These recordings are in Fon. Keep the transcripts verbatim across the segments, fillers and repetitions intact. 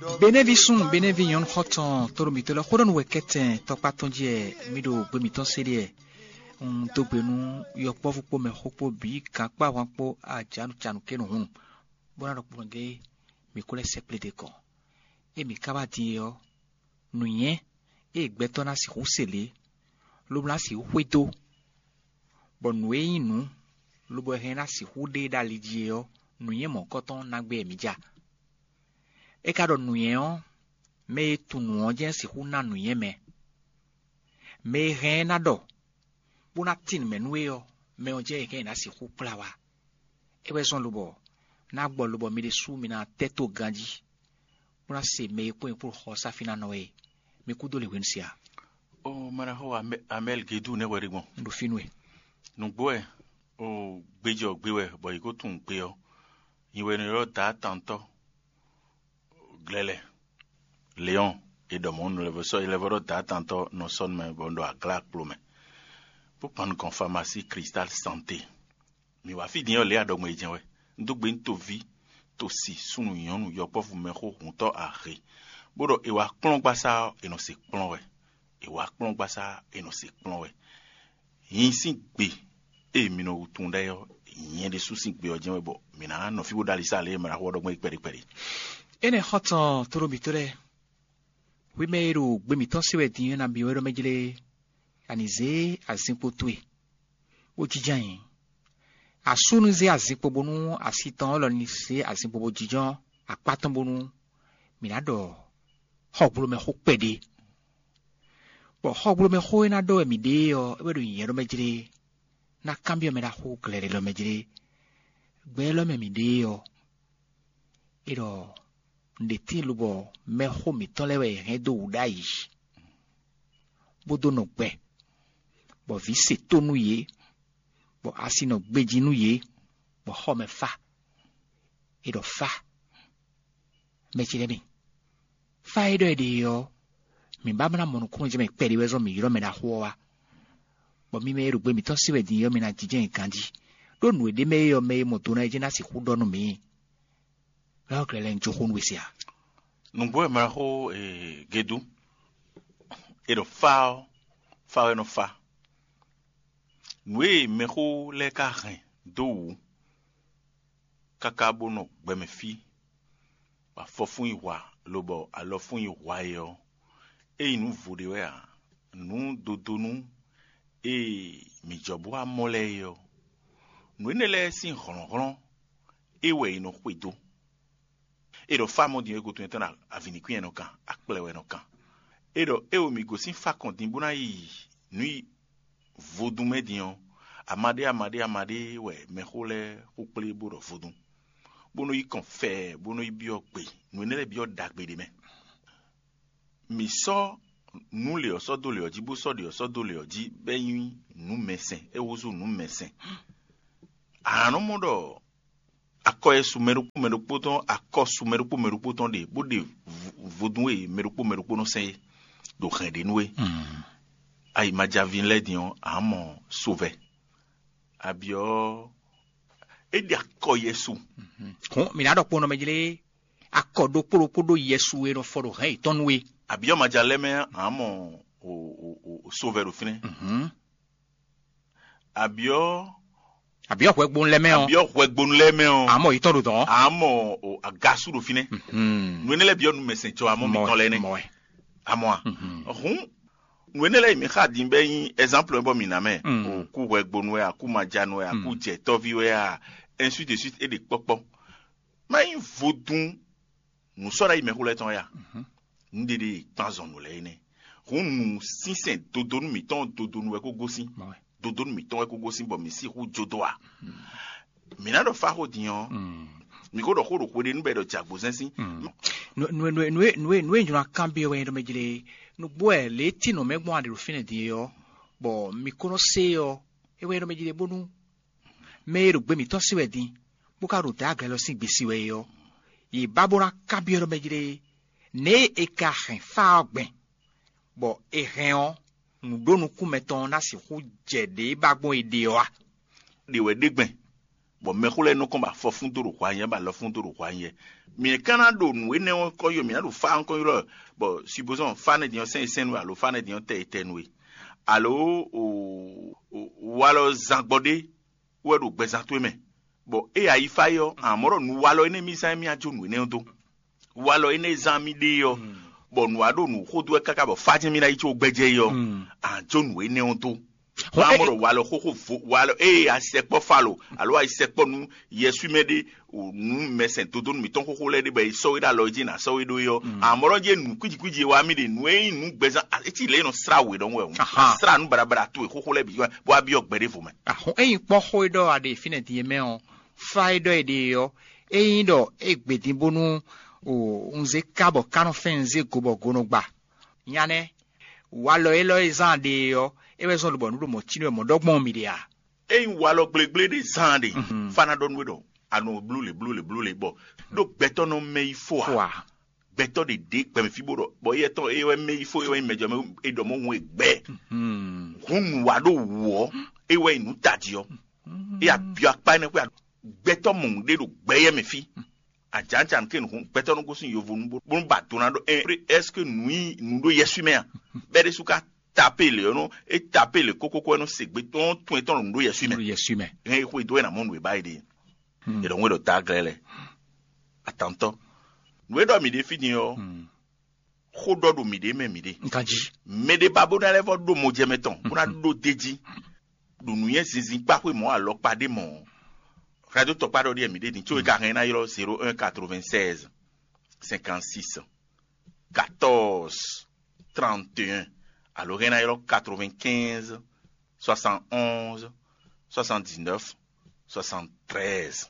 Benɛ́ví súnnu, benɛ́ví nyɔ̌nu xɔ́ntɔn, tɔ́ɖo mǐtɔn lɛ́ɛ xó ɖɔ nú wɛ kɛ́tɛn tɔkpá tɔn jí wɛ mǐ ɖo gbe mǐtɔn se ɖe wɛ. Un dó gbe nú yɔkpɔ́vú kpó mɛxó kpó bǐ, gankpáhwan kpó ajǎnúcanú kénu hǔn, bó ná ɖɔ kplɔ́n gé mǐ kó lɛ́ sɛkplé ɖe kɔ. Ée mǐ ka wá din é ɔ́, nǔnywɛ́ e gbɛtɔ́ ná sixú se lě, lobo ná sixú xwedó, bɔ nǔ e nyí nǔ, lobo hɛn ná sixú ɖe ɖo ali jí é ɔ́, nǔnywɛ́ mɔ̌hunkɔtɔn ná gbé wɛ mǐ ja. É ka ɖɔ nǔnywɛ́ ɔ́, mɛ e tunwun nǔ ɔ́ jɛ́n sixú ná nǔnywɛ́ mɛ. Mɛ e hɛn ɛ ná ɖɔ, bó ná tín nǔ mɛ nú we ɔ́, mɛ ɔ́ jɛ́n è hɛn ná sixú kplá wá. É wɛ zɔ́n lobɔ ná gbɔ lobɔ mi ɖésú mi ná tɛ́ tó ganjí, bó ná se mɛ e kpó nyɛ kpó xɔ sáfínánɔ e. Mi kúdó lě hwenu sia. Ó manaxó Amɛl Gedú nɛ́ hwɛ ɖé gbɔn. Un ɖo fínú e. Nǔgbó wɛ, ó gbéjɔ gbé wɛ bɔ yě kó tunwun gbe ɔ́. Nyi wɛ nɔ ylɔ́ Daatantɔ́ Glɛlɛ, Leɔn, e ɖɔ mɔ̌ nú lɛ́ vɔ sɔ́, lɛ́ vɔ ɖɔ Daatantɔ́ nɔ sɔ́ nú mɛ bɔ un ɖo aglá kplo mɛ, bó kpan nukɔn famasí Cristal Santé. Mǐ wá fí din ɔ́ lě aɖɔgɔn e jɛ́n wɛ. Un dó gbe nú toví, tosi, súnnu, nyɔ̌nu, yɔkpɔ́vú, mɛxó, hǔntɔ́, ahe, bó ɖɔ è wǎ kplɔ́n gbasá ɔ́, è nɔ se kplɔ́n wɛ. È wǎ kplɔ́n gbasá, è nɔ se kplɔ́n wɛ. Nyi sín gbe e mi nɔ tunwun ɖ'ayǐ ɔ́, nyɛ ɖésú sín gbe ɔ́ jɛ́n wɛ bɔ mǐ ná nɔ fí bó ɖó alisá lě e mɛ ná xo ɔ́ ɖɔ gbɔn é kpɛɖé kpɛɖé. Énɛ́ xɔ́ntɔn tlóló mǐtɔn lɛ́ɛ, hwi mɛ e ɖo gbe mǐtɔn se wɛ din ɔ́, nabí wɛ ɖɔ mɛ jlé, a nǐ zé azinkpo towe, bó jínjɔ́n ayǐ. Asú ní zé azinkpo bónú asi tɔn élɔ́ ní zé azinkpo bó jínjɔ́n akpá tɔn bónú mǐ ná ɖɔ xɔgblomɛxó kpɛɖé. Bɔ xɔgblomɛxó e ná ɖɔ wɛ mǐ ɖe é ɔ́, é wɛ ɖo nyǐnyɛ́ ɖɔ mɛ jlé, ná kanbyɔ́ mɛ ɖaxó glɛ̌ɖɛ́ ɖɔ mɛ jlé. Gbɛ élɔ́ mɛ mǐ ɖe é ɔ́, é ɖɔ un ɖe tíin lobɔ mɛxó mǐtɔn lɛ́ɛ wɛ è hɛn dó wǔ ɖ'ayǐ, bó dó nɔ gbɛ, bɔ vǐ se tó nú yě, bɔ asi nɔ gbejí nú yě, bɔ xɔ mɛ fá. É ɖɔ fá, mɛ ce lɛ́ɛ mi, fá e ɖɔ è ɖe e ɔ́, mǐ ba ná mɔ nukúnnú jɛ mɛ kpɛɖé wɛ zɔ́n mǐ ylɔ́ mɛ ɖaxó ɔ́ wá, bɔ mi mɛ e ɖo gbe mǐtɔn se wɛ din é ɔ́, mi ná jínjɔ́n nyi ganjí, ɖó nǔ e ɖ'é mɛ é ɔ́, mɛ e mɔ do ná é jɛ́n ná sixú ɖɔ nú mǐ. Lɔ̌ glɛ́ lɛ́ɛ un jó xó nú we se a? Nǔgbó wɛ mɛ xó Gedú, è ɖɔ fá ɔ́, fá wɛ nɔ fá. Nǔ e mɛxó lɛ́ɛ ka hɛn dó wǔ káká bó nɔ gbɛmɛ fí, bɔ afɔ fún nyi hwa, lobɔ alɔ fún nyi hwa é ɔ́, é nyí nǔ vo ɖé wɛ ǎ. Nǔ dodónú e mǐ jɔ bó wá mɔ lɛ́ɛ é ɔ́, nǔ énɛ́ lɛ́ɛ sín hlɔ̌nhlɔ́n é wɛ è nɔ xwedó. È ɖɔ fá mɔ din é gotun tɔn ɖo avǐnikwín wɛ nɔ kan, akplɛ wɛ nɔ kan. È ɖɔ é wo mǐ gosín fá kɔn din bó ná yi nǔ yi vodún mɛ din ɔ́, amaɖé amaɖé amaɖé wɛ mɛxó lɛ́ɛ xó kplé bó ɖɔ vodún, bó nɔ́ yi kɔn fɛɛ bó nɔ́ yi byɔ́ gbe, nǔ énɛ́ lɛ́ɛ byɔ́ ɖagbe ɖé mɛ. Mǐ sɔ́ nǔ lě ɔ́ sɔ́ dó lě ɔ́ jí, bó sɔ́ ɖě ɔ́ sɔ́ dó lě ɔ́ jí, bɔ é nyí nǔ mɛsɛn, é húzú nǔ mɛsɛn. A nǎ nɔ mɔ ɖɔ akɔ e su mɛ ɖokpó mɛ ɖokpó tɔn, akɔ su mɛ ɖokpó mɛ ɖokpó tɔn ɖe, bó ɖe vodún e mɛ ɖokpó mɛ ɖokpó nɔ sɛn é ɖo hɛn ɖě nú é. Ayi majaví lɛ́ɛ din ɔ́, a mɔ sovɛ. Abyɔ́ é ɖe akɔ Yɛsu. Hɔn mǐ ná ɖɔ kpɔ́n nɔ mɛ jlé, akɔ ɖokpó ɖokpó ɖó Yɛsu e nɔ fɔ ɖo hɛn yětɔn nú é. Abyɔ́ maja lɛ́ɛ mɛ, a mɔ sovɛ ɖo fínɛ́. Abyɔ́ abyɔ́ hwɛgbonu lɛ́ɛ mɛ ɔ́, abyɔ́ hwɛgbonu lɛ́ɛ mɛ ɔ́, a mɔ yětɔn ɖo dɔn. A mɔ agasú ɖo fínɛ́. Nú énɛ́ lɛ́ɛ byɔ́ nú mɛsɛn cɔ, a mɔ mǐtɔn lɛ́ɛ nɛ́. Mɔ wɛ. A mɔ a? Hǔn nú énɛ́ lɛ́ɛ yi mǐ xa din bɛ́ nyí ɛzánplɔ bɔ mǐ ná mɛ. Kú hwɛgbonu wɛ a, kú majanu wɛ a, kú jɛtɔ́ví wɛ a, ainsi de suite, é ɖe kpɔ́kpɔ́. Má nyí vodún nǔ sɔ́ ɖ'ayǐ mɛxó lɛ́ɛ tɔn ya. Nǔɖiɖi kpanzɔn nǔ lɛ́ɛ é nɛ́. Hǔn nǔ sínsɛn dodonu mǐtɔn dodonu wɛ kó gosín. Dodonu mǐtɔn wɛ kó gosín bɔ mǐ sixú jó dó a? Mǐ ná ɖɔ fá xó din ɔ́, mǐ ko ɖɔ xó ɖo xwe ɖé nú bɔ è ɖɔ jǎgbozɛ́n sín. Nǔ e nǔ e nǔ e nǔ e jló ná kanbyɔ́ wɛ nyí ɖɔ mɛ jlé, nǔgbó wɛ lě e tín nǔ mɛ gbɔn a ɖe ɖo fínɛ́ din é ɔ́, bɔ mi ko nɔ se é ɔ́, é wɛ nyí ɖɔ mɛ jlé bónú mɛ e ɖo gbe mǐtɔn se wɛ din, bó ka ɖo dǎ glɛ́ lɔ sín gbe sí wɛ é ɔ́, yě ba bó ná kanbyɔ́ ɖɔ mɛ jlé, nɛ̌ e è ka hɛn fá ɔ́ gbɛn, bɔ è hɛn ɔ́, nǔ ɖó nukún mɛtɔn ɔ́ ná sixú jɛ ɖě ba gbɔn è ɖe ɔ́ a? Ɖě wɛ ɖe gbɛn, Bɔ mɛxó lɛ́ɛ nɔ kɔn ba fɔ fún dó ɖo hwanyɛ ba lɔ fún dó ɖo hwanyɛ. Mǐ ka ná ɖo nǔ énɛ́ ɔ́ kɔ ylɔ́, mǐ ná ɖo fá ɔ́ kɔ ylɔ́, bɔ supposons fá nɛ́ din ɔ́ sɛ́n sɛ́n nú we alo fá nɛ́ din ɔ́ tɛ tɛ nú we, alo walɔ zán gbɔ ɖé wɛ ɖo gbɛzán towe mɛ, bɔ é ayi fá é ɔ́, amɔ̌ ɖɔ nǔ walɔ énɛ́ mì zán émí á jó nǔ énɛ́ ɔ́ dó. Walɔ énɛ́ zán mì ɖe ɔ́, bɔ nǔ wa ɖo nǔ xó dó wɛ káká bɔ fá jɛ́n mì ná yi có gbɛjɛ é ɔ́, a jó nǔ énɛ́ ɔ́ dó. Hɔn é- Amɔ́ ɖɔ walɔ xóxó vo walɔ ée a sɛkpɔ́ falo alo a yi sɛkpɔ́ nú yɛswímɛ ɖé, nú mɛsɛn dodónu mǐtɔn xóxó lɛ́ɛ ɖé bɔ è sɔ́ we ɖó alɔ jí nǎ sɔ́ we ɖó é ɔ́, amɔ̌ ɖɔ jɛ nǔ kwíji kwíji e wa mì ɖe nǔ e nyí nǔ gbɛzán, etí lě e nɔ slá we ɖɔhun wɛ hǔn. Aha. Slá nǔ baɖabaɖa towe xóxó lɛ́ɛ bǐ bó wá byɔ́ gbɛ ɖěvo mɛ. Ahɔn ényí kpɔ́n xó e ɖɔ a ɖe fínɛ́ din e mɛ ɔ́, fá e ɖɔ è ɖe é ɔ́, ényí ɖɔ é gbě din bónú o un zé ká bɔ ká nɔ fɛ́n un zé go bɔ go nɔ gba. Nya nɛ́, walɔ élɔ́ e zán a ɖe é ɔ́, é wɛ zɔ́n lobɔ nǔ ɖo mɔ̌ cí nú wɛ mɔ̌ ɖɔ gbɔn mì ɖe a? Ényí walɔ gblégblé ɖé zán a ɖe, fá ná ɖɔ nú we ɖɔ a nɔ blú lě blú lě blú lě bɔ ɖó gbɛtɔ́ nɔ mɛ yi fó a? Fó a? Gbɛtɔ́ ɖě ɖě gbɛmɛ fí bó ɖɔ bɔ éyɛ́ tɔn é wɛ mɛ yi fó é wɛ nyí mɛjɔ mɛ é ɖɔ mɔ hun e gbɛ. Hun nǔ wa ɖó wǔ ɔ́, é wɛ nyí nǔ tají ɔ́. É abyɔ akpá énɛ́ xwé gbɛtɔ́ mɔ̌ ɖé ɖo gbɛyɛ mɛ fí. Ajǎnjǎn ké nǔ gbɛtɔ́ nɔ gosín yovo nú bó nú ba do ná ɖɔ ɛ est-ce que nǔ nyi nǔ ɖó yɛswí mɛ a? Bɛ́ ɖésú ka tapé lě ɔ́ nɔ é tapé lě kókókó ɛ nɔ se gbe tɔn tún etɔn ɖo nǔ ɖó yɛswí mɛ. Ɖo yɛswí mɛ. Hɛn é xwedó ɛ nà mɔ nǔ e ba é ɖe. È ɖɔ ŋwé ɖɔ daglɛ lɛ atantɔ. Nǔ e ɖɔ mǐ ɖe fí din ɔ́, xó ɖɔ ɖo mǐɖée mɛ mǐɖée. Nkan jí. Mɛ ɖé ba bó ná lɛ́ vɔ ɖó mɔjɛmɛ tɔn bó ná ɖó d'é jí ɖo nǔnywɛ́ zinzin kpá xwé mɔ̌ alɔkpa ɖé mɔ̌. Hɛdó tɔkpá ɖɔ ɖíe mǐɖée din có é ka hɛn ná ylɔ́ zéro un quatre-vingt-seize cinquante-six quatorze trente et un, alo hɛn ná ylɔ́ quatre-vingt-quinze soixante-onze soixante-dix-neuf soixante-treize.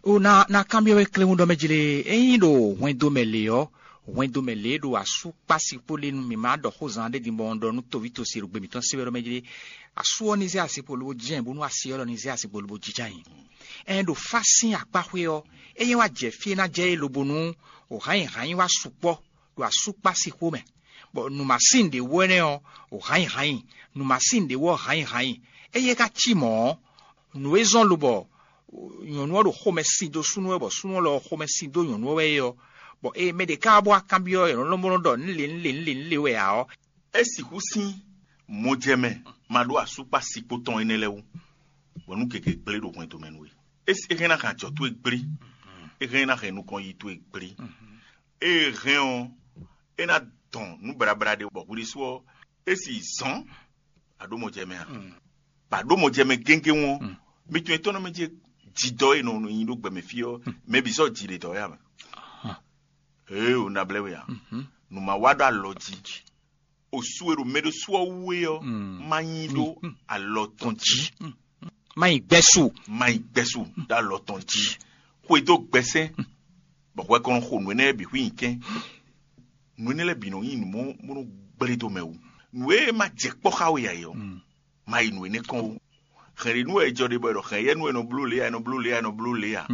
O na na kanbyɔ́ we kléwún ɖɔ mɛ jlé ényí ɖo hwɛndo mɛ lě ɔ́, hwɛndo mɛ lě ɖo asú kpási kpó lé nú mǐ má ɖɔ xó zan ɖé din bɔ un ɖɔ nú toví tosi ɖo gbe mǐtɔn sí wɛ ɖɔ mɛ jlé. Asú ɔ́ ní zé asi kpo lobo jɛ́n bónú asi ɔ́ lɔ ní zé asi kpo lobo jínjɔ́n ayǐ. Ɛn ɖo fá sín akpá xwé ɔ́, é nyɛ wá jɛ fí e ná jɛ é lobo nú o hǎnyi hǎnyi wá sukpɔ́ ɖo asú kpási xó mɛ, bɔ nǔmasín ɖě wú ɛnɛ́ ɔ́, o hǎnyi hǎnyi, nǔmasín ɖě wú ɔ́ hǎnyi hǎnyi. Éyɛ́ ka cí mɔ̌ ɔ́, nǔ e zɔ́n lobɔ nyɔ̌nu ɔ́ ɖo xomɛ sin dó súnnu wɛ bɔ súnnu ɔ́ lɔ xomɛ sin dó nyɔ̌nu ɔ́ wɛ é ɔ́, bɔ ée mɛ ɖě ká wá bó wá kanbyɔ́ nyɔ̌nu lɔmɔ̌ ɖɔ nǔ lě nǔ lě nǔ lě nǔ lě wɛ ǎ ɔ́, é sixú sín mɔjɛmɛ ma ɖó asúkpa sikpó tɔn énɛ́ lɛ́ɛ wú, bɔ nú gěgé gblé ɖo hwɛndo mɛ nú we. É hɛn ná hɛn ajɔ towe gblé, é hɛn ná hɛn nukɔn yi towe gblé. É hɛn ɔ́, é ná dɔn nǔ blablá ɖé bɔ hwiɖésú ɔ́, é sì zɔ́n a ɖó mɔ jɛ mɛ a? Ba ɖó mɔ jɛ mɛ géngé wɔn, mi tún etɔ́ nɔ mɛ jɛ jidɔ e nɔ nyi ɖó gbɛmɛ fí ɔ́, mɛ bǐ sɔ́ ji ɖe dɔ̌ ya mɛ. Ee, o na blɛ́ we a? Nǔ ma wa ɖó alɔ jí. O su e ɖo mɛ ɖo su ɔ́ wú é ɔ́, má nyi ɖó alɔ tɔn jí. Má nyi gbɛ́ su. Má nyi gbɛ́ su ɖó alɔ tɔn jí. Xwedó gbɛsɛn, bɔ hwɛ kɔn xo nǔ énɛ́ bǐ xwí nyi kɛn. Nǔ énɛ́ lɛ́ɛ bǐ nɔ nyí nǔ mɔ bó nɔ gblé dó mɛ wú. Nǔ e ma jɛ kpɔ́ xá we ǎ é ɔ́, ma yi nǔ énɛ́ kɔn ó. Hɛn ɖě nú wɛ è jɔ ɖe bɔ è ɖɔ hɛn yɛ nú è nɔ bló lě ǎ, è nɔ bló lě ǎ, è nɔ bló lě ǎ.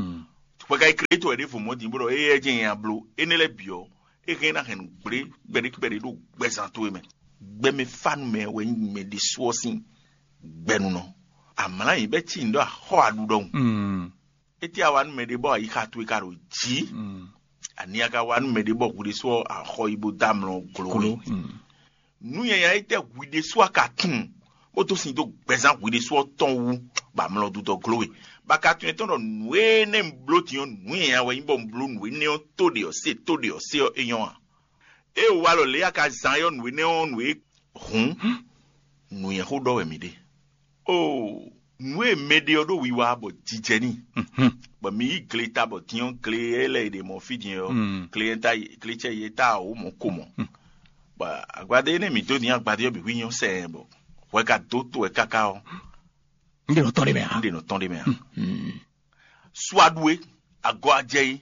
Hwɛ ka yi klé tɔn wɛ ɖěvo mɔ̌ din bó ɖɔ éyɛ́ jɛ́n nya bló. Énɛ́ lɛ́ɛ bǐ ɔ́, é hɛn ná hɛn nǔ gblé kpɛɖé kpɛɖé ɖo gbɛzán towe mɛ. Gbɛmɛ fá nú mɛ wɛ nyí mɛ ɖésú ɔ́ sín gbɛnunɔ. Amlá yě bɛ́ cí nǔ ɖɔ axɔ́ aɖu ɖɔhun. Étí a wa nú mɛ ɖé bɔ ayixa towe ka ɖo jǐ? Ani a ka wa nú mɛ ɖé bɔ hwi ɖésú ɔ́ axɔ yi bó dó amlɔ glo we? Nú nyanya étɛ́ hwi ɖésú a ka tunwun bó dó sin dó gbɛzán hwi ɖésú ɔ́ tɔn wú, bɔ amlɔ dudɔ glo we? Bɔ a ka tunwun etɔ́n ɖɔ nǔ énɛ́ un bló din ɔ́, nǔ nyanya wɛ nyí bɔ un bló nǔ énɛ́ ɔ́ tó ɖe ɔ́ se, tó ɖe ɔ́ se ɔ́, é nyɔ́ a? Ée wǎ lɔ lě a ka zán ɔ́ nǔ énɛ́ ɔ́ nǔ é hǔn nǔnywɛ́xó ɖɔ wɛ mǐ ɖe. Oo, nǔ e mɛ ɖe ɔ́ ɖo wiwa bɔ jijɛ n'i, bɔ mi yí gleta bɔ din ɔ́, gle e lɛ́ è ɖe mɔ̌ fí din ɔ́, gle e ta gle cɛ ye ta wǒ mɔ̌ ko mɔ̌. Bɔ agbadé énɛ́ mǐ dó din agbadé ɔ́ bǐ hwí nyɔ́ sɛɛ bɔ hwɛ ka dó to wɛ káká ɔ́, Un ɖe nɔ tɔn ɖé mɛ ǎ. Un ɖe nɔ tɔn ɖé mɛ ǎ. Suaɖu é, agɔ ajɛ é.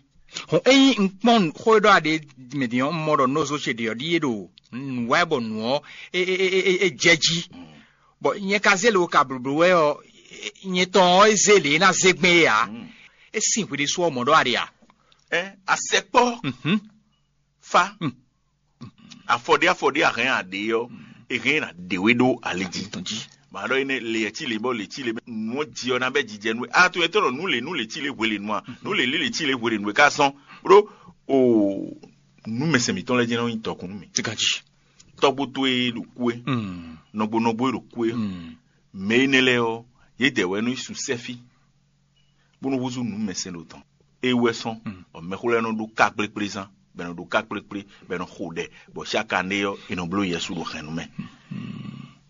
Hɔn ényí un kpɔ́n xó e ɖɔ a ɖe mɛ din ɔ́, un mɔ ɖɔ nɔzo ce ɖe ɔ́ ɖíe ɖo nǔ wa ɛ bɔ nǔ ɔ́ é é é é é jɛ jí. Bɔ nyɛ ka zé lě wo ka blǒblǒ wɛ ɔ́, nyɛ tɔn ɔ́ é zé lě e ná zé gbɛn é ǎ. É sin hwi ɖésú ɔ́ mɔ̌ ɖɔ a ɖe a? Ɛ asɛkpɔ́. Fa. Afɔɖé afɔɖé a hɛn a ɖě ɔ́, è hɛn ná ɖě we ɖó ali jí. Tɔn jí. Mǎ ɖɔ énɛ́ lě cí lě bɔ lě cí lě nǔ ɔ́ ji ɔ́ ná bɛ́ jijɛ nú we. A to etɔ́ ɖɔ nǔ lě nǔ lě cí lě hwe lě nú a? Nǔ lě lě lě cí lě hwe lě nú we ká sɔ́n ɖó o nǔ mɛsɛn mǐtɔn lɛ́ɛ jɛ́n nɔ nyí dɔkun nú mì. Ganji. Tɔ́gbó towe ɖo kú é, nɔgbo nɔgbo e ɖo kú é, mɛ énɛ́ lɛ́ɛ ɔ́, yědɛɛ wɛ nɔ yi su sɛ́fí bó nɔ húzú nǔ mɛsɛn ɖo tɔn. É wɛ sɔn bɔ mɛxó lɛ́ɛ nɔ ɖó ká kplékplé zán, bɔ è nɔ ɖó ká kplékplé, bɔ è nɔ xo ɖɛ, bɔ xyákané ɔ́, è nɔ bló Yɛsu ɖo hɛn nú mɛ.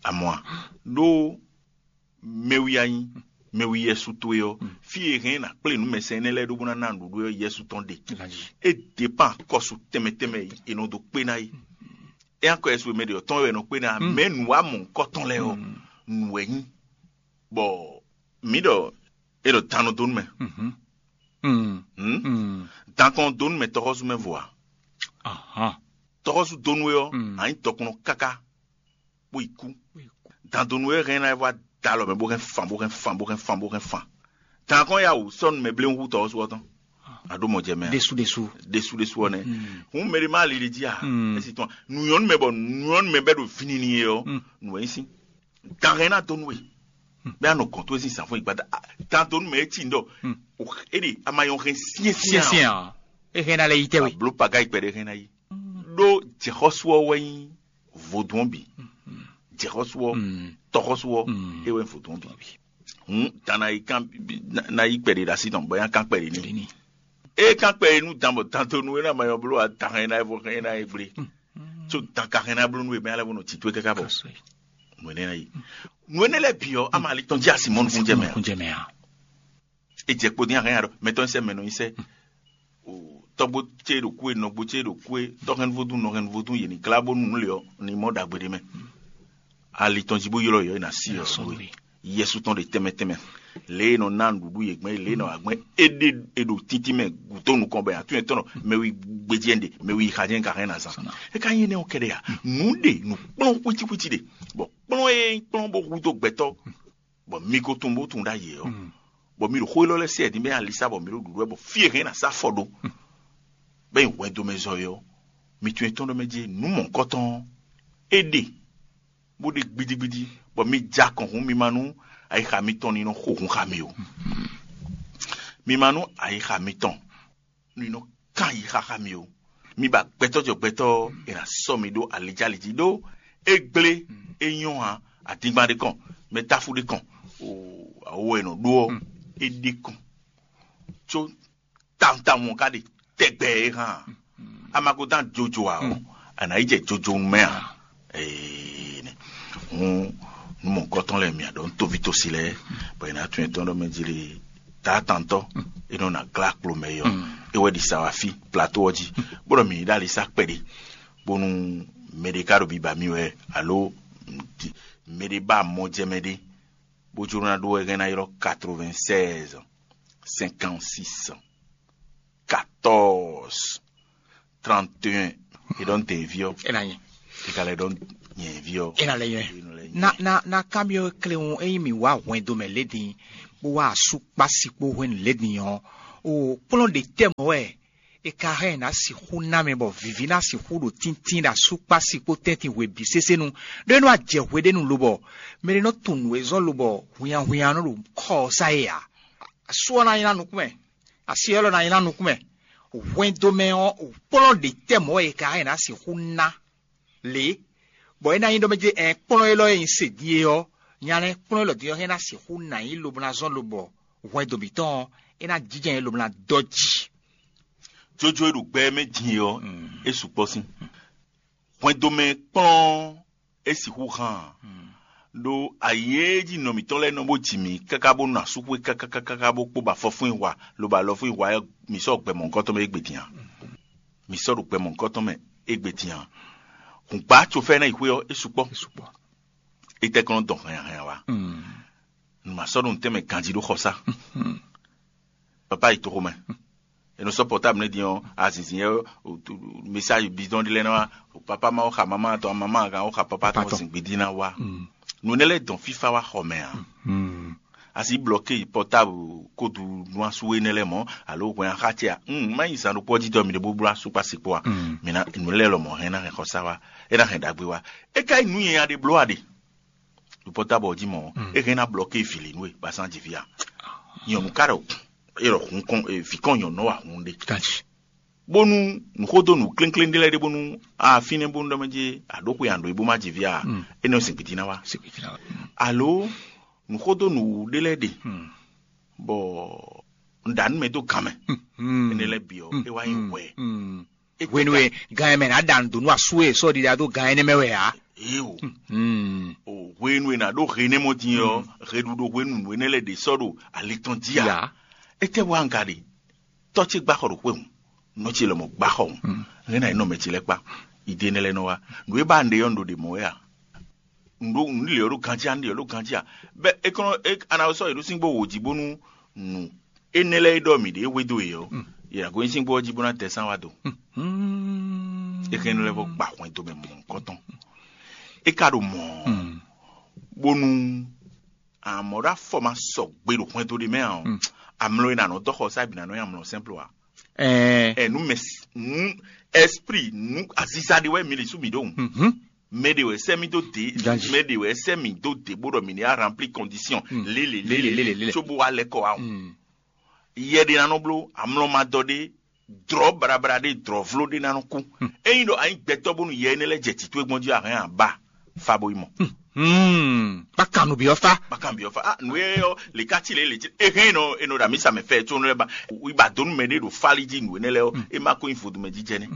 Amɔ̌ a? Ɖó mɛwi a nyí mɛwi Yɛsu towe ɔ́, fí e hɛn ná kplé nǔ mɛsɛn énɛ́ lɛ́ɛ ɖó bó ná ná nǔɖuɖu ɔ́, Yɛsu tɔn ɖe. É dépán kɔsu tɛnmɛ tɛnmɛ e è nɔ dó kpé ná é. É nyí akɔ Yɛsu e mɛ ɖě ɔ́ tɔn wɛ è nɔ kpé ná, mɛ nǔ wa mɔ̌hunkɔtɔn lɛ́ɛ ɔ́, nǔ wɛ nyí. Bɔ mǐ ɖɔ é ɖɔ dan nɔ dó nú mɛ. Hmm? Dan kɔn dó nú mɛ tɔxɔsú mɛ vo a? Tɔxɔsú dó nú we ɔ́, a nyí dɔkunnɔ káká bó yi kú. Dan dó nú we hɛn ná e vɔ da alɔ mɛ bó hɛn fan bó hɛn fan bó hɛn fan bó hɛn fan. Dan kɔn ya wǔ sɔ́ nú mɛ bléwún hú tɔxɔsú ɔ́ tɔn. A ɖó mɔ jɛ mɛ a? Ɖésú ɖésú. Ɖésú ɖésú ɔ́ nɛ́. Hǔn mɛ ɖé má li ɖe jí a? É si tɔn nǔ nyɔ́ nú mɛ bɔ nǔ nyɔ́ nú mɛ bɛ́ ɖo vǐnini é ɔ́, nǔ wɛ nyí sín. Dan hɛn ná dó nú we. Bɛ́ a nɔ gɔ̌n towe sín zǎnfɔ́n yi gbada. Dan dó nú mɛ é cí ndɔ. É ɖe a ma nyɔ hɛn syɛ́nsyɛ́n. Syɛ́nsyɛ́n a? É hɛn ná lɛ yi tɛ́ we. Bló paga yi kpɛɖé hɛn ná yi. Ɖó jɛxɔ́sú ɔ́ wɛ nyí vodún ɔ́ bǐ. Jɛxɔ́sú ɔ́, tɔxɔ́sú ɔ́, é wɛ nyí vodún ɔ́ bǐ. Hǔn dan ná yi kán ná yi kpɛɖé ɖo así tɔn bɔ é ná kán kpɛɖé n'i. É kán kpɛɖé nú dan bɔ dan dó nú é ná ma nyɔ bló a dan hɛn ná yi vɔ hɛn ná yi gblé. Tso dan ka hɛn ná bló nú we mɛ alɛ bó nɔ tito é káká bɔ nǔ énɛ́ ná yi. Nǔ énɛ́ lɛ́ɛ bǐ ɔ́, ama ali tɔn jí asi mɔ nukúnjɛ mɛ a? Kúnjɛ mɛ a? É jɛ kpo dín ahɛn aɖɔ mɛtɔn sɛ mɛ nɔ nyi sɛ. Tɔgbo ce ɖo kú e, nɔgbo ce ɖo kú e, tɔhɛnvodún nɔhɛnvodún yě ní glá bónú nǔ lě ɔ́ ní mɔ ɖagbe ɖé mɛ. Ali tɔn jí bó ylɔ́ yɔ é ná sí ɔ. Yɛsu tɔn ɖe tɛnmɛ tɛnmɛ. Lě e nɔ ná nǔɖuɖu yě gbɛn, lě e nɔ agbɛn é ɖe, è ɖo títí mɛ gǔdo nukɔn bɔ atún yɛn tɔn nɔ mɛ wi gbejɛ ɖe, mɛ wi xa jɛn ka hɛn na zan. É ka nyí énɛ́ ɔ́ kɛɖɛ a? Nǔ ɖe nǔ kplɔ́n xwítíxwítí ɖe, bɔ kplɔ́n e kplɔ́n bó hudó gbɛtɔ́, bɔ mi ko tunwun bó tunwun ɖ'ayǐ ɔ́, bɔ mi ɖo xó élɔ́ lɛ́ɛ se ɛ din bɛ alisa bɔ mi ɖo ɖuɖu wɛ bɔ fí e hɛn ná sá afɔ ɖó bɛ nyi hwɛndo mɛ zɔ é ɔ́, mi tunwun etɔn ɖɔ mɛ jí nǔ mɔ̌hunkɔtɔn ɔ́, é ɖe bó ɖe gbidigbidi, bɔ mi ja kɔn hun mi ma nú ayixa mitɔn ní nɔ xo hun xa mi o. Mi ma nú ayixa mitɔn ní nɔ kán yi xaxa mi o. Mi ba gbɛtɔ́ jɔ gbɛtɔ́ ɔ́, è nǎ sɔ́ mi ɖó alejálí jí ɖó é gblé é nyɔ́ ǎ. Adingban ɖé kɔn, mɛ táfú ɖé kɔn, awo e nɔ ɖó ɔ́, é ɖé kɔn. Có tawun tawun ɔ́ ka ɖe tɛgbɛ é hán a? A ma ko dán jojo ǎ ɔ́, a nǎ yi jɛ jojo mɛ ǎ. Ee, hun nú mɔ̌hunkɔtɔn lɛ́ɛ mì aɖɔ nú toví tosi lɛ́ɛ, bɔ è nǎ tunwun etɔ́n ɖɔ mɛ jí lé taatantɔ́ e nɔ na glá kplo mɛ é ɔ́, é wɛ ɖi sa wá fí plato ɔ́ jí, bó ɖɔ mǐ yi ɖó ali sá kpɛɖé, bónú mɛ ɖé ka ɖo biba mì wɛ, alo mɛ ɖé ba mɔ jɛ mɛ ɖé, bó jló ná ɖó wɛ hɛn ná ylɔ́ quatre-vingt-seize, cinquante-six, quatorze, trente et un. E ɖɔ nte vi ɔ. Ena nyi. E ka lɛ ɖɔ nyɛ vi ɔ. Ena lɛ nyɛ. Na na na kamiɔ kle ŋu eyi mi wa hwɛndo mɛ ledin, bó wa asu kpasi kpo hwenu ledin ɔ, o kplɔn ɖe tɛ mɔ wɛ. E ka hɛn na sixu na mɛ bɔ vivi na sixu ɖo tíntín ɖo asu kpasi kpo tɛntin hwe bi sese nu. Ɖo e nɔ ajɛ hwe ɖe nu lobɔ mɛ ɖe nɔ tunnu ezɔ lobɔ hwinya hwinya nɔ ɖo kɔ sa ye a? Asu ɔ na nyi na nukún mɛ. Asi élɔ́ ná nyí ná nukún mɛ. Hwɛndo mɛ ɔ́, kplɔ́n ɖě tɛ́ mɔ̌ wɛ è ka hɛn ná sixú ná lě, bɔ é ná nyí ɖɔ mɛ jɛ ɛ kplɔ́n élɔ́ e nyi se din é ɔ́, nya lɛ́ɛ kplɔ́n élɔ́ din ɔ́ hɛn ná sixú ná nyí lobo ná zɔ́n lobɔ hwɛndo mǐtɔn ɔ́, é ná jínjɔ́n nyɛ lobo ná dɔ́ jí. Jójó e ɖo gbɛ mɛ din é ɔ́, é sukpɔ́ sín. Hwɛndo mɛ kplɔ́n é sixú hán ǎ. Ɖó ayǐ e jí nɔ mǐtɔn lɛ́ɛ nɔ bó ji mǐ káká bó nɔ asúxwé kákákáká bó kpó ba fɔfún yi hwa lobo alɔfún yi hwa ɔ́, mǐ sɔ́ gbɛ mɔ̌hunkɔtɔn mɛ égbé din ǎ. Mǐ sɔ́ ɖo gbɛ mɔ̌hunkɔtɔn mɛ égbé din ǎ. Hǔngbá cofɛ́ ná yi xwé ɔ́, é sukpɔ́. É tɛ́ kɔn nɔ dɔn hɛnnyahɛnya wá. Nǔ ma sɔ́ ɖo nǔtɛn mɛ ganjí ɖó xɔsá. Papa yi toxo mɛ. E nɔ sɔ́ pɔtáblu nɛ́ din ɔ́, azinzin yɛ message bidɔn ɖé lɛ́ɛ ná wá. Papa ma wó xa mama tɔn, mama kan wó xa papa tɔn zin gbidi ná wá. Nǔ énɛ́ lɛ́ɛ dɔn fífá wá xɔ mɛ ǎ. Asi blɔke pɔtáblu kódu nú asú énɛ́ lɛ́ɛ mɔ̌ alo hwɛn axá ce a? Má nyi zan ɖokpó ɔ́ jí dɔ mi ɖe bó bló asú kpá sikpó a? Mi ná nǔ lɛ́ɛ lɔmɔ̌ hɛn ná hɛn xɔsá wá, é ná hɛn ɖagbe wá. É ka nyí nǔ nyanya ɖé bló a ɖe? ɖo pɔ́tábɔ jí mɔ̌, é hɛn ná blɔ́ ké vǐ lě nú we ba sán jǐ fí a? Nyɔ̌nu ka ɖɔ é ɖɔ hun kɔn vǐ kɔn nyɔ̌nu wa hun ɖe. Bónú nǔxódó nǔ klénkléng ɖé lɛ́ɛ ɖe bónú a fínɛ́ bónú ɖɔ mɛ jí a ɖǒ xwe a ɖǒ e bó má jǐ fí a? Énɛ́ ɔ́ sin gbiti ná wá. Alo nǔxódó nǔwú ɖé lɛ́ɛ ɖe bɔ un ɖa nú mɛ dó gan mɛ. Énɛ́ lɛ́ɛ bǐ ɔ́ é wá nyí hwɛ. Hwenu e gan e mɛ ná ɖa nǔ dó nú asú e sɔ́ ɖiɖa dó gan énɛ́ mɛ wɛ ǎ. Éewo. O hwenu e nǎ ɖó he énɛ́ mɔ din ɔ́, heɖuɖo hwenu nǔ énɛ́ lɛ́ɛ ɖě sɔ́ ɖo ali tɔn jí ǎ. Étɛ́ wá un ka ɖe? Tɔ́ ce gbá xɔ ɖo xwé hǔn, nɔ ce lɔmɔ̌ gbá xɔ hǔn, hɛn ná yi nɔ mɛ ce lɛ́ɛ kpá. Ìdí énɛ́ lɛ́ɛ nɔ wá. Nǔ e ba un ɖe ɔ́, un ɖo ɖě mɔ̌ wɛ a? Un ɖo un lě ɔ́ ɖo ganjí a? Un lě ɔ́ ɖo ganjí a? Bɛ́ é kɔn é a nǎ sɔ́ yě ɖó síngbó wǒ jí bónú nǔ énɛ́ lɛ́ɛ e ɖɔ mǐ ɖe hwedó yě ɔ́, yě ná gosín síngbó ɔ́ jí bó ná tɛ sán wá do. É hɛn nú lɛ́ vɔ gba hwɛndo mɛ mɔ̌hunkɔtɔn. É ka ɖo mɔ̌ bónú amɔ̌ ɖo afɔ ma sɔgbe ɖo hwɛndo ɖé mɛ ǎ ɔ́, amlɔ e nǎ nɔ dɔ xɔ sá bǐ ná nɔ nyi amlɔ sɛ́nplo ǎ. Ɛɛ Ɛ nú mɛ nú esprit nú aziza ɖé wɛ mi li sú mi ɖó hǔn. Mɛ ɖé wɛ sɛ mi dó dé, Ganji. Mɛ ɖé wɛ sɛ mi dó dé bó ɖɔ mi ní a rempli condition lélẹ̀ lélẹ̀ lélẹ̀ lélẹ̀. Tso bó wá lɛ́ kɔ wá hǔn. Yɛ ɖé ná nɔ bló amlɔ ma dɔ ɖé, drɔ̌ baɖabaɖa ɖé, drɔ̌vló ɖé ná nɔ kú. Ényí ɖɔ a nyí gbɛtɔ́ bónú yɛ énɛ́ lɛ́ɛ jɛ tǐ towe gbɔn jí a hɛn a ba fa bo yi mɔ. Hmm. Kpákan nǔ byɔ́ fá. Kpákan byɔ́ fá. Ah, nǔ e ɔ́ lě ká cí lě lě cí. E hɛn nɔ e nɔ ɖo amisa mɛ fɛ tsónú lɛ́ɛ ba. Wí ba dó nú mɛ ɖé ɖo fálí jí nǔ énɛ́ lɛ́ɛ ɔ́, é má kó nyí vodúnmɛ jí jɛ nɛ́.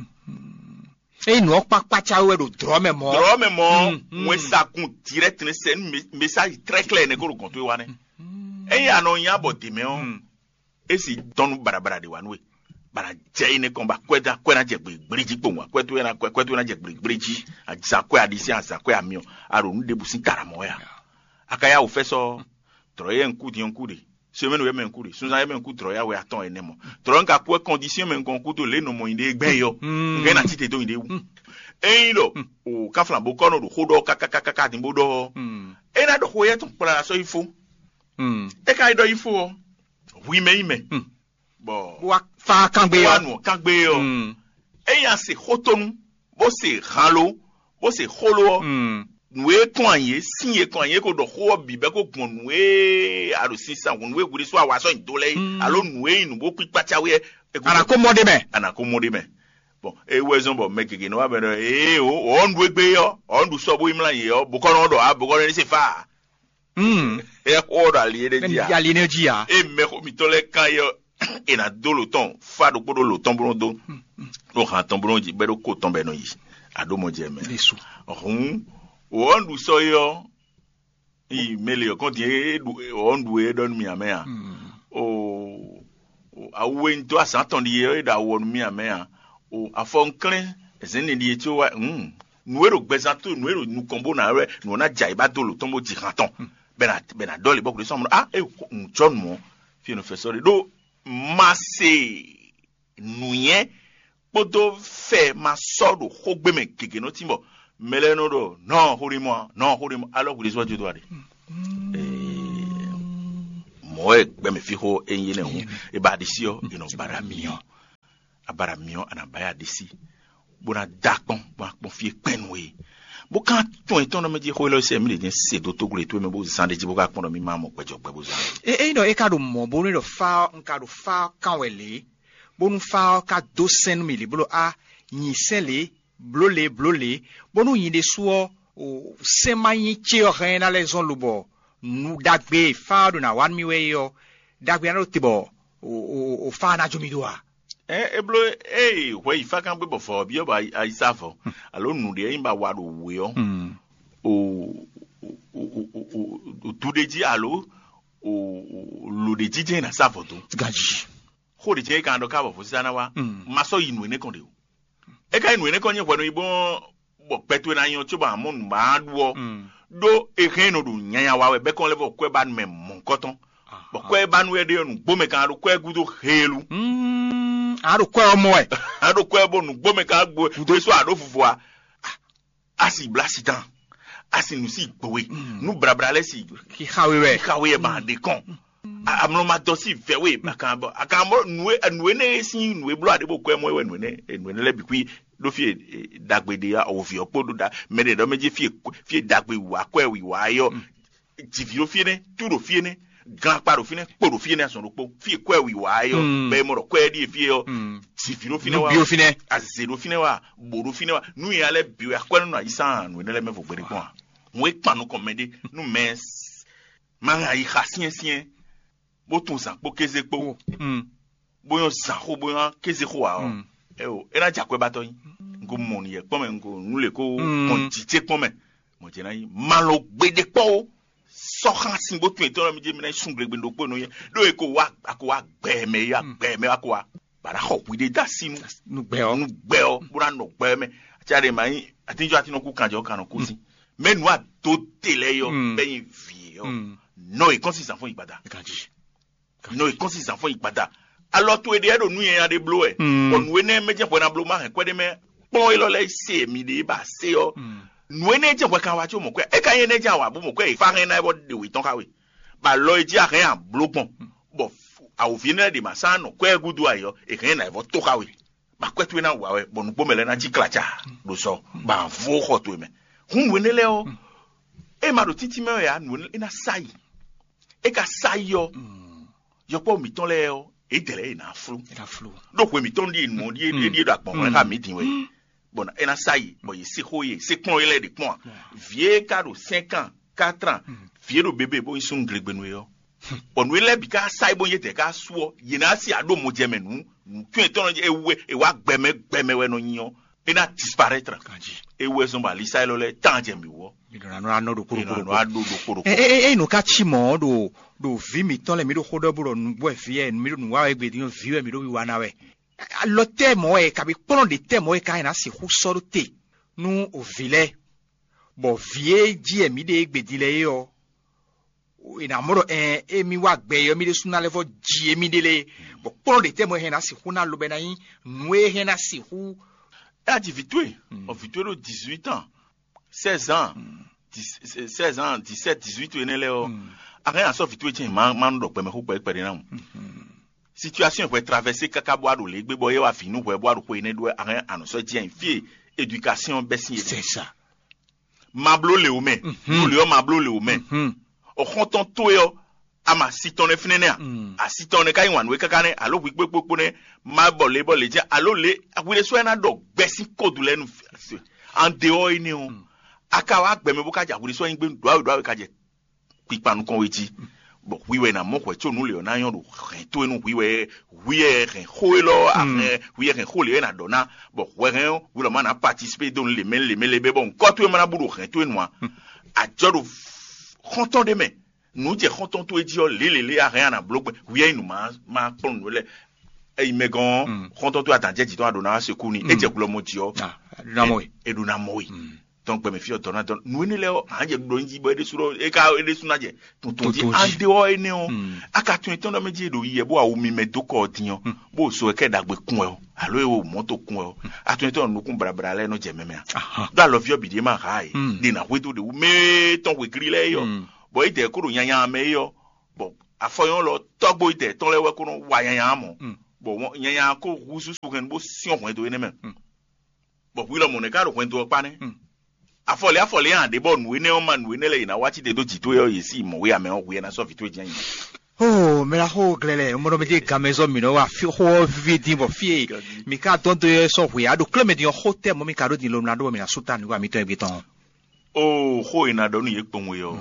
Ényí nǔ ɔ́ kpákpá cá wɛ ɖo dlɔ̌ mɛ mɔ̌. Dlɔ̌ mɛ mɔ̌, wɛn sagun direct ne sɛ nú message très clair ne ko ɖo gɔn towe wa nɛ. Ényí a nɔ nya bɔ dě mɛ ɔ́, é si tɔn nú baɖabaɖa ɖe wa nú we. Bana jɛ yi ne kɔn ba kwɛ da kwɛ na jɛ gbegbleji kpowun, kwɛ to na kwɛ kwɛ to na jɛ gbegbleji, aza kwɛ aɖisí, aza kwɛ amiɔ, a ɖo nu ɖebu sín tara mɔ wɛ a? A ka ya wò fɛ sɔ, trɔ yɛ ŋku din ŋku ɖe, semaine yɛ mɛ ŋku ɖe, sunzan yɛ mɛ ŋku trɔ ya wɛ atɔn ɛnɛ mɔ. Trɔ ŋka kwɛ condition mɛ ŋkɔn kudo le nɔ mɔ yi ɖe gbɛ yɔ. Ŋkɛ na tite do yi ɖe wu. Eyin ɖɔ o kaflan bo kɔ nɔ ɖo xó ɖɔ kakakaka din bo ɖɔ, e na ɖɔ xó yɛ tɔn kpla sɔ yi fo. E ka yi ɖɔ yi fo ɔ, hui mɛ yi mɛ. Bɔ bó wá fá kángbe wa ɔ́. Nɔ kángbe ɔ, eyin a se xótónu, bó se hanlo, bó se xólo ɔ, nǔ e kɔn anyi é, sín e kɔn anyi é ko ɖɔ xó ɔ́ bǐ bɛ́ ko gbɔn nǔ e a ɖo sinsɛn hǔn nǔ e hwiɖésú a wa sɔ́ nyi dó lɛ́ɛ é, alo nǔ e nyí nǔ bó kpíkpá cáwé ɛ. Ana kó mɔ ɖé mɛ. Ana kó mɔ ɖé mɛ. Bɔn é wɛ zɔn bɔ mɛ gěgé nɔ wá bɛ ɖɔ ee o ɔ́ nɖu égbé ɔ́ ɔ́ nɖu sɔ bó yi mlá yě ɔ́ bokɔnɔ ɖɔ a bokɔnɔ ní se fá a. Ɛ xó ɔ́ ɖo ali é ɖé jí a. Ali énɛ́ jí a. E mɛ xó mitɔn lɛ́ɛ kan é ɔ́, è nǎ dó lǒ tɔn fá ɖokpó ɖó lǒ tɔn bó nɔ́ dó, ɖó han tɔn bó nɔ́ jí bɛ́ ɖó kó tɔn bɔ è nɔ yi. Aɖó mɔ jɛ mɛ. Hǔn wǒ ɔ́ ɖu sɔ́ é ɔ́, yi mɛ le ɔ́ kɔn din é ɖu ɔ́ ɖu é ɖɔ nú mì amɛ a? O awu e un dó azǎn tɔn ɖi é ɖo awu ɔ́ nú mì amɛ a? O afɔ un klɛ́n zɛ̌n ne ɖi é có wá hǔn nǔ e ɖo gbɛzán tó nǔ e ɖo nukɔn bó ná wɛ nǔ ɔ́ ná jɛ ayǐ ba dó lǒ tɔn bó ji han tɔn bɛ na bɛ na ɖɔli bɔ kúɖé sɔmɔ a e un jɔ nǔ ɔ́ fi e nɔ fɛ sɔ ɖe ɖó ma se nǔnywɛ́ kpódó fɛ ma sɔ́ ɖo xógbé mɛ gěgé nɔ tín bɔ mɛ lɛ́ɛ nɔ ɖɔ nɔ xóɖémɔ a nɔ xóɖémɔ alɔ kúɖé sɔ jó dó a ɖe mɔ̌ wɛ gbɛmɛ fí xó e nyí énɛ́ hǔn e ba ɖisí ɔ́ e nɔ ba ɖo amì ɔ́ a ba ɖo amì ɔ́ a nǎ ba ya ɖisí bó ná dó akpɔ́n bó ná kpɔ́n fí e kpɛn nú we. Bó ka tɔn etɔ́n nɔ mɛ jí xó élɔ́ sɛ mí ɖě jɛ́n se dó tóglo e towe mɛ bó zán ɖé jí bó ka kpɔ́n ɖɔ mí má mɔ gbɛjɔ gbɛ bó zán. E ényí ɖɔ é ka ɖo mɔ̌ bónú é ɖɔ fá ɔ́, un ka ɖo fá ɔ́ kán wɛ lě, bónú fá ɔ́ ka dó sɛ́n nú mì lě bó ɖɔ á, nyi sɛ́n lě, blǒ lě, blǒ lě, bónú nyi ɖésú ɔ́, o sɛ́n ma nyí ce ɔ́ hɛn é ná lɛ́ zɔ́n lobɔ nǔ ɖagbe e fá ɔ́ ɖo ná wa nú mì wɛ é ɔ́, ɖagbe ná ɖo te bɔ o o o fá ɔ́ ná jó mì ɖó a? Ɛ é bló ée hwɛ yi fákán gbé bɔ vɔ̌ ɔ́ byɔ́ bɔ ayi sá vɔ̌ alo nǔɖé e nyí ba wa ɖo wǔ é ɔ́, o o o o o du ɖé jí alo o o lo ɖé jí jɛ́n è nǎ sá vɔ̌ dó. Ganjí. Xó ɖě jɛ́n é ka ɖɔ ká bɔ vɔ̌sísá ná wá. Ma sɔ́ yi nǔ énɛ́ kɔn ɖe o. É ka nyí nǔ énɛ́ kɔn nyí hwɛnu yi bó bɔ gbɛ towe ná nyɔ cóbɔ a mɔ nǔ ma ɖu ɔ́, ɖó è hɛn nɔ ɖo nyanya wa wɛ bɛ́ kɔn lɛ́ vɔ kwɛ́ ba nu mɛ mɔ̌hunkɔtɔn. Bɔ kwɛ́ ba nu wɛ ɖe ɔ́, nǔgbó mɛ kan ɖo kwɛ́ gúdo heelu. A ɖo kwɛ́ ɔ́ mɔ wɛ. A ɖo kwɛ́ bɔ nǔgbó mɛ kan gbo ɖésú a ɖó vuvu a. A si blá si tán, a si nǔ si gbowe, nú blabla lɛ́ɛ si xixa we wɛ. Xixa we wɛ ba ɖe kɔn. Amlɔ ma dɔ si vɛ we ba kan bɔ a kan bɔ nǔ e nǔ e ne e sin nǔ e bló a ɖe bó kwɛ mɔ e wɛ nǔ e ne nǔ e ne lɛ bi kui ɖó fie ɖagbe ɖe ya o vi ɔ kpo ɖo ɖa mɛ ɖe ɖɔ mɛ dzi fie fie ɖagbe wa kwɛ wi wa yɔ Jivǐ ɖo fí énɛ́, tú ɖo fí énɛ́, gan akpa ɖo fínɛ́, kpo ɖo fí énɛ́, azɔn ɖokpó. Fí e kwɛ́ wǐwá é ɔ́, bɛ e mɔ ɖɔ kwɛ́ ɖíe fí é ɔ́, jivǐ ɖo fínɛ́ wá, azě ɖo fínɛ́ wá, bǒ ɖo fínɛ́ wá. Nú nya lɛ́ɛ bǐ wɛ akwɛ́ nɔ nɔ ayǐ sán nǔ énɛ́ lɛ́ɛ mɛ vo gbeɖé kpɔ́n a? Hǔn e kpan nukɔn mɛɖé nú mɛ ma hɛn ayi xa syɛ́nsyɛ́n, bó tunwun zǎn kpó kéze kpó, bó nyɔ́ zǎn xó, bó nyɔ́ kéze xó ǎ ɔ́, ɛ o, é ná jɛ akwɛ́ ba tɔ́ nyi. Un ko mɔ nǔ yɛ kpɔ́n mɛ, un ko nǔ lě ko gbɔn jǐ ce kpɔ́n mɛ. Mɔ̌ ce ná nyí malɔ gbeɖé kpɔ́ ó. Sɔ́ xá sin bó tún etɔ́ mi jɛ mi ná yi sun glegbe ɖokpó nɔ yɛ ɖó e ko wá a ko wá gbɛ mɛ ya gbɛ mɛ wá ko wá bǎ ná xɔ hwi ɖé dó así nú nú gbɛ ɔ́ nú gbɛ ɔ́ bó ná nɔ gbɛ mɛ. Aca ɖe ma nyí atínjɔ atínɔ kú kanjɔ kan nɔ kú sí mɛ nǔ adó te lɛ yɔ Mm. Bɛ nyi vǐ yɔ Mm. Nɔ e kɔn si zan fún ìgbada. Ganji. Nɔ e kɔn si zan fún ìgbada. Alɔ to e ɖe ɖo nú yɛn ɖe bló wɛ. Mm. Bɔ nǔ énɛ́ mɛ jɛ hwɛ ná bló má hɛn kwɛ́ ɖé mɛ kplɔ́n élɔ́ lɛ́ɛ se mi ɖe ba se ɔ́. Mm. Nǔ énɛ́ jɛ hwɛ kan wá có mɔ kwɛ́ é ka nyí énɛ́ jɛ awǎ bó mɔ kwɛ́ e fá hɛn ná é bɔ ɖe wě tɔn xá we. Bɔ alɔ e jí a hɛn a bló gbɔn bɔ awǒvi énɛ́ ɖe ma sán nɔ kwɛ́ gúdo ayɔ è hɛn ná é vɔ tó xá we. Bɔ akwɛ́ towe ná wa wɛ bɔ nǔgbó mɛ lɛ́ɛ ná cí klaca ɖo sɔ bɔ a vo xɔ towe mɛ. Hǔn nǔ énɛ́ lɛ́ɛ ɔ́, é ma ɖo títí mɛ wɛ ǎ, nǔ énɛ́ é ná sa yi. É ka sa yi ɔ́, yɔkpɔ́ mǐtɔn lɛ́ɛ ɔ́, é dɛ lɛ́ɛ è nǎ flú. Ɖó hwe mǐtɔn ɖíe nǔ ɔ́ ɖíe é ɖíe ɖo agbɔ̌n hwlɛ́n xá mǐ din wɛ. Bɔ é ná sa yi, bɔ yě se xó yě se kplɔ́n é lɛ́ɛ ɖě kpɔ́n a. Vǐ e ka ɖo cinq ans, quatre ans, vǐ e ɖo bébé bó nyí súnnu glegbenu é ɔ́, bɔ nǔ e lɛ́ɛ bǐ ka sa yi bó nyí étɛ́ ká sú ɔ́, yě ná sí aɖó mo jɛ mɛ nǔ nǔtɔ́ yětɔn nɔ é wú é wá gbɛmɛ gbɛmɛ wɛ nɔ nyi ɔ́, é ná disparaître. Ganji. É wú ɛ zɔ́n bɔ alisá élɔ́ lɛ́ɛ tán jɛ mǐ wú ɔ́. Mi ɖo na nɔ ɖo kpóɖokpóɖo. Nɔ aɖó ɖo kpóɖokpóɖo. Enu ka ci mɔ̌ ɖo ɖo vǐ mǐtɔn lɛ́ɛ mi ɖo xó ɖɔ bó ɖɔ nǔgbó wɛ vǐ ɛ mi ɖo nǔ wa wɛ gbedi nú vǐ wɛ mi ɖo wiwa ná wɛ. Alɔ tɛ́ mɔ̌ wɛ kabi kplɔ́n ɖě tɛ́ mɔ̌ wɛ ka ná sixú sɔ́ ɖó te nú o vǐ lɛ́ɛ, bɔ vǐ e jí ɛ mi ɖe égbedi lɛ́ɛ é ɔ́, è nǎ mɔ ɖɔ ɛn émí wá gbɛ é ɔ́, mí ɖésú ná lɛ́ vɔ́ ji émí ɖe lé, bɔ kplɔ́n ɖě tɛ́ mɔ é hɛn ná sixú ná lobɛ ná nyí nǔ e hɛn ná sixú. É aji vǐ towe, ɔ vǐ towe ɖo dix-huit ans, seize ans, seize ans, dix-sept, dix-huit énɛ́ lɛ́ɛ ɔ́, a hɛn asɔ vǐ towe cɛn ma ma nɔ ɖɔ gbɛmɛ xó kpɛɖé kpɛɖé ná mu. Situation hwɛ traversé káká bó a ɖo lě gbé bɔ é wá vǐ nú hwɛ bó a ɖo xwe énɛ́ ɖó wɛ, a hɛn anɔ sɔ́ jɛ fí e éducation bɛ́ sín é. C'est ça. Ma bló lě wò mɛ, nú lě ɔ́ ma bló lě wò mɛ. Ɔxɔntɔn towe ɔ́, a ma si tɔn nɛ́ fínɛ́ nɛ́ a? A si tɔn nɛ́ ka nyi wǎn nú we káká nɛ́, alo hwi kpókpókpó nɛ́, ma bɔ lě bɔ lě jɛ, alo lě hwi ɖésú wɛ ná ɖɔ gbɛ sín kódu lɛ́ɛ nu. An de ɔ́ énɛ́ ɔ́, a ka wá gbɛ mɛ bó ká jɛ hwi ɖésú wɛ nyí gbé ɖɔ̌ awe ɖɔ̌ awe ka jɛ kpikpa nukɔn we jí. Bɔ hwi wɛ ná mɔ hwɛ có nú lě ɔ́ ná nyɔ́ ɖo hɛn towe nú hwi wɛ, hwi wɛ hɛn xó élɔ́ a hɛn hwi wɛ hɛn xó lě wɛ ná ɖɔ ná, bɔ hwɛ hɛn ɔ́ hwi lɔ ma ná participé dó nú lě mɛ lě mɛ lě bɛ bɔ ŋkɔ towe ma ná bú ɖo hɛn towe nu a. Ajɔ ɖo xɔ́ntɔn ɖé mɛ, nǔ jɛ xɔ́ntɔn towe jí ɔ́ lě lě lě a hɛn a nǎ bló gbɛn hwi wɛ nyí nǔ ma ma kplɔ́n nǔ lɛ́ɛ. Eyi mɛ gɔn xɔ́ntɔn towe adǎn jɛ jǐ tɔn a ɖǒ ná wá se kú ni é jɛ glɔ mɔ jǐ ɔ́. Namɔ e. E ɖo ná mɔ we. Tɔn gbɛmɛ fí ɔtɔ ná dɔn nǔ énɛ́ lɛ́ɛ ɔ́, hǎn jɛ ɖɔ nyi jí bɔ é ɖésú ɖɔ é ka é ɖésú ná jɛ tuntun jí. Tuntun jí. Ande ɔ́ énɛ́ ɔ́, aka tun etɔn ɖɔ mɛ jí e ɖo yi yɛ bó awu mi mɛ dó kɔ ɔ́ din ɔ́, bó so ɛ kɛ ɖagbe kun wɛ ɔ́, alo e wo mɔto kun wɛ ɔ́, atun etɔn nukún brabra lɛ́ɛ nɔ jɛ mɛmɛ a? Ɖó alɔví ɔ́ bǐ ɖé ma ha e, ɖe ná hwedó ɖe wú mɛ tɔn hwegli lɛ́ɛ é ɔ́, bɔ é dɛ kó ɖo nyanya mɛ é ɔ́, bɔ afɔyɔn lɔ tɔgbo yi dɛ tɔn lɛ́ɛ wɛ kó nɔ wa nyanya mɔ, bɔ nyanya kó húzú su hɛn bó syɔ́n hwɛndo énɛ́ mɛ. Bɔ hwi lɔmɔ̌ nɛ́ ka ɖo hwɛndo ɔ́ kpá nɛ́. Afɔlɛ afɔlɛ yɛn aɖe bɔ nǔ énɛ́ ɔ́ ma nǔ énɛ́ lɛ́ɛ yě ná wá cí te dó jǐ towe ɔ́, yě sí mɔ wé amɛ ɔ́, hwi ɛ ná sɔ́ vǐ towe jɛ́n nyi. Oo, mɛ ná xo glɛ́ lɛ, mɔ ɖɔ mɛ dé gan mɛ zɔ mǐ nɔ wa fí xó ɔ́ víví dín bɔ fí e mǐ ka dɔn dó ɔ́ sɔ́ hwe á ɖo klé mɛ din ɔ́ xó tɛ́ mɔ mǐ ka ɖó din lomla ɖó bɔ mǐ ná sú ta nǔ wa mǐtɔn e gbé tɔn. Oo, xó e ná ɖɔ nú yě kpowun e ɔ́,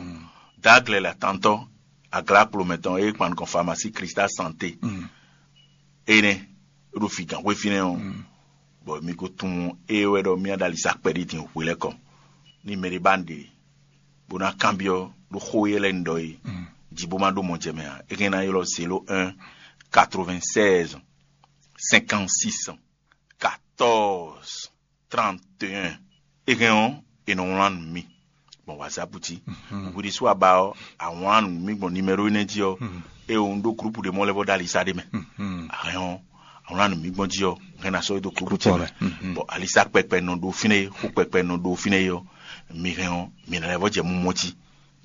dǎ glɛ́ lɛ atantɔ́, aglá kplomɛ tɔn e kpan nukɔn famasí Krista Santé. Énɛ́ ɖo fǐgǎn xwé fínɛ́ ɔ́, bɔ mi ko tunwun ée wɛ ɖɔ mì ná ɖo ali sa kpɛɖí din hwe lɛ́ɛ kɔ. Ní mɛɖé ba un ɖe bó ná kanbyɔ́ ɖó xó éyɛ́ lɛ́ɛ un ɖɔ é jí bó má ɖó mɔ jɛ mɛ ǎ, é hɛn ná ylɔ́ zéro un quatre-vingt-seize cinquante-six quatorze trente et un. É hɛn ɔ́, è nɔ wlán nú mì gbɔn whatsapp jí. Hwi ɖésú a ba ɔ́, a wlán nú mì gbɔn nimero énɛ́ jí ɔ́, é un ɖó groupe ɖé mɔ lɛ́ vɔ ɖó alisa ɖé mɛ. A hɛn ɔ́, a wlán nú mì gbɔn jí ɔ́, hɛn ná sɔ́ é dó groupe jí mɛ. Bɔ alisa kpɛkpɛ nɔ ɖó fínɛ́ é, xó kpɛkpɛ nɔ ɖó fínɛ́ é ɔ́, mi hɛn ɔ́, mi ná lɛ́ vɔ jɛ mumɔ jí,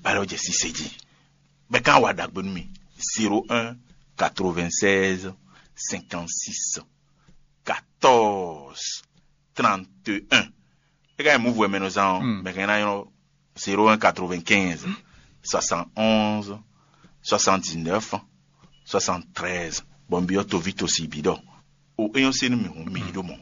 bá lɛ́ vɔ jɛ sise jí. Bɛ kan wa ɖagbe nú mi. Zéro un quatre-vingt-seize cinquante-six quatorze trente et un. É ka nyí mǔvú wɛ mɛ nɔ zán ɔ́, mɛ hɛn ná nyɔ́ zéro un quatre-vingt-quinze soixante-onze, soixante-dix-neuf, soixante-treize. Bɔ un byɔ́ toví tosi bǐ ɖɔ o, é nyɔ́ sé nú mì hǔn mi yi ɖó mɔ̌.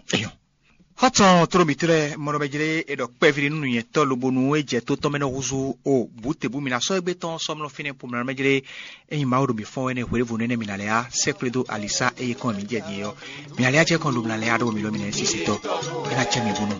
Xɔ́tɔn tló mǐtɔn lɛ́ɛ, mɔ ɖɔ mɛ jlé è ɖɔ kpɛví ɖé nú nǔnyɛtɔ́ lobo nú é jɛ tó tɔn mɛ nɔ húzú o bǔtebú mi ná sɔ́ égbé tɔn sɔmlɔ fínɛ́ po mǐ ná mɛ jlé. Ényí Mawu ɖo mǐ fɔ́n wɛ nɛ́ hwěɖěvo nɛ́ nɛ́ mǐ ná lɛ́ á, sɛ́ xwlé dó alisá eye kɔn mǐ jɛ din é ɔ́, mǐ ná lɛ́ á jɛ kɔn ɖo mǐ ná lɛ́ á ɖó mǐ lɔ mǐ ná nyí sisitɔ́. É ná cɛ mǐ búnú.